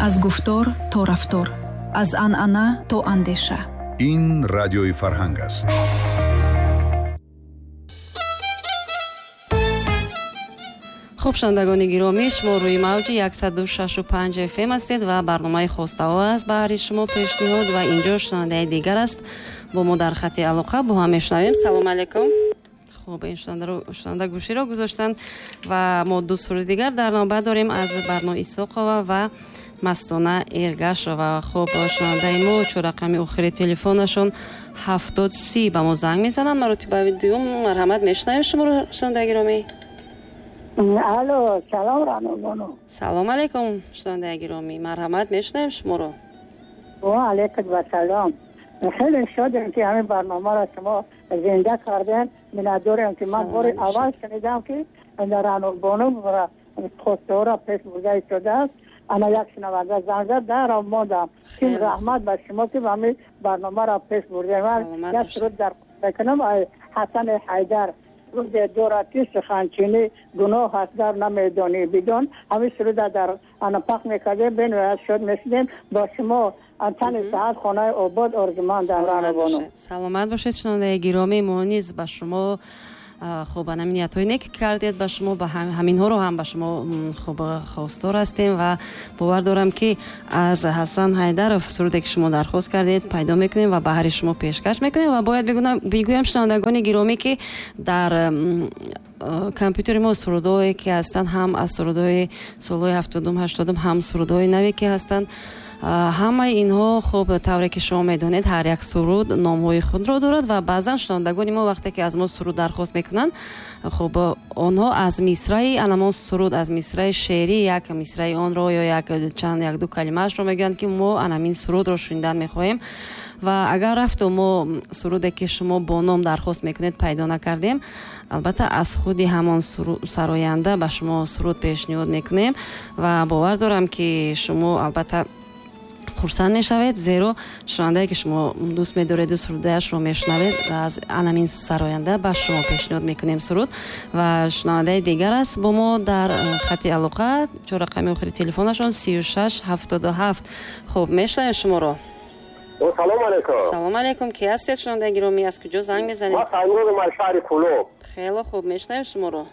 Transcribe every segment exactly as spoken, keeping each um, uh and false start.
Аз гуфтор то рафтор, аз анъана то андеша. Ин радиои Фарҳанг аст. Хуб, шунавандагони гиромӣ, шумо рӯи мавҷи яксаду шашу панҷ эф эм ҳастед ва барномаи хостаҳо аст баҳри шумо пешниҳод ва инҷо шунавандаи дигар аст бо мо дар хати алоқа, бо ҳам мешунавем. Салом алейкум. Хуб, ин шунаванда гӯширо гузоштанд ва мо ду суруди дигар дар навбат дорем аз Барно Исоқова ва Мастона Эргашова. Хуб, шунавандаи мо чор рақами охири телефонашон ҳафтод си ба мо занг мезананд. Маротибаи дуюм марҳамат, мешунавем шуморо, шунавандаи гиромӣ. Алло, салом Рано бону. Салом алейкум, шунавандаи гиромӣ, марҳамат, мешунавем шуморо. Ва алейкум вассалом. Хеле шодем ки ҳамин барномаро шумо зинда кардем. Миннатдорем ки ман бори аввал шунидам ки Рано бону хостаҳоро пеш бурда истодааст. Ана як шунаванда занг зад, даром мондам. Ки раҳмат ба шумо ки ҳамин барномаро пеш бурдем. Ман як суруд дар мекунам, Ҳасан Ҳайдар. Суруде дорад ки суханчинӣ гуноҳ аст дар намедонӣ бидон. Ҳамин суруда дар ана пахш мекардем, бениҳоят шод мешудем. Бо шумо тани саҳат, хонаи обод орзумандам. Рано бону. Саломат бошед, шунавандаи гиромӣ. Мо низ ба шумо хуб ҳамин ниятҳои нек кардед, ба шумо ба ҳаминҳоро ҳам ба шумо хуб хостор ҳастем ва бовар дорам ки аз Ҳасан Ҳайдаров суруде ки шумо дархост кардед пайдо мекунем ва баҳри шумо пешкаш мекунем. Ва бояд бигӯям шунавандагони гиромӣ ки дар компютери мо сурудҳое ки ҳастанд, ҳам аз сурудҳои солҳои ҳафтодум ҳаштодум, ҳам сурудҳои наве ки ҳастанд, ҳамаи инҳо хуб тавре ки шумо медонед ҳар як суруд номҳои худро дорад ва баъзан шунавандагони мо вақте ки аз мо суруд дархост мекунанд, хуб онҳо аз мисраи анамон суруд, аз мисраи шеърӣ як мисраи онро ё як чанд як ду калимаашро мегӯянд ки мо анамин сурудро шунидан мехоҳем. Ва агар рафту мо суруде ки шумо бо ном дархост мекунед пайдо накардем, албатта аз худи ҳамон сароянда ба шумо суруд пешниҳод мекунем ва бовар дорам ки шумо албатта хурсанд мешавед, зеро шунавандае ки шумо дӯст медореду сурудаяшро мешунавед, аз анамин сароянда ба шумо пешниҳод мекунем суруд. Ва шунавандаи дигар аст бо мо дар хати алоқа, чор рақами охири телефонашон сию шаш ҳафтоду ҳафт. Хуб, мешунавем шуморо. Салом алейкум. Салом алейкум. Ки ҳастед, шунавандаи гиромӣ, аз куҷо занг мезанед? Ман Саймуродом аз шаҳри Кӯлоб. Хеле хуб, мешунавем шуморо.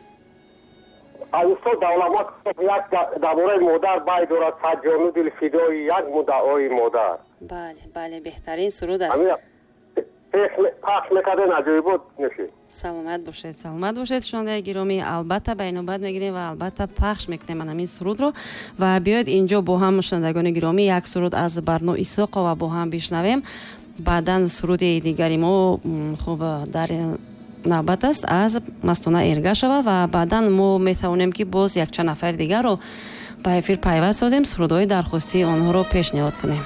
Аз устод Давлатмат як дар бораи модар бай дорад, сад ҷону дил фидои як муддаои модар. Бале, бале, беҳтарин суруд аст. Пахш мекардем, аҷоибот мешид. Саломат бошед, саломат бошед, шунавандаи гиромӣ. Албатта ба инобат мегирем ва албатта пахш мекунем ҳамин сурудро. Ва биёед инҷо бо ҳам шунавандагони гиромӣ як суруд аз Барно Исоқова бо ҳам бишнавем. Баъдан суруди дигари мо хуб дар навбат аст аз Мастона Эргашова ва баъдан мо метавонем ки боз якчанд нафари дигарро ба эфир пайваст созем, сурудҳои дархостии онҳоро пешниҳод кунем.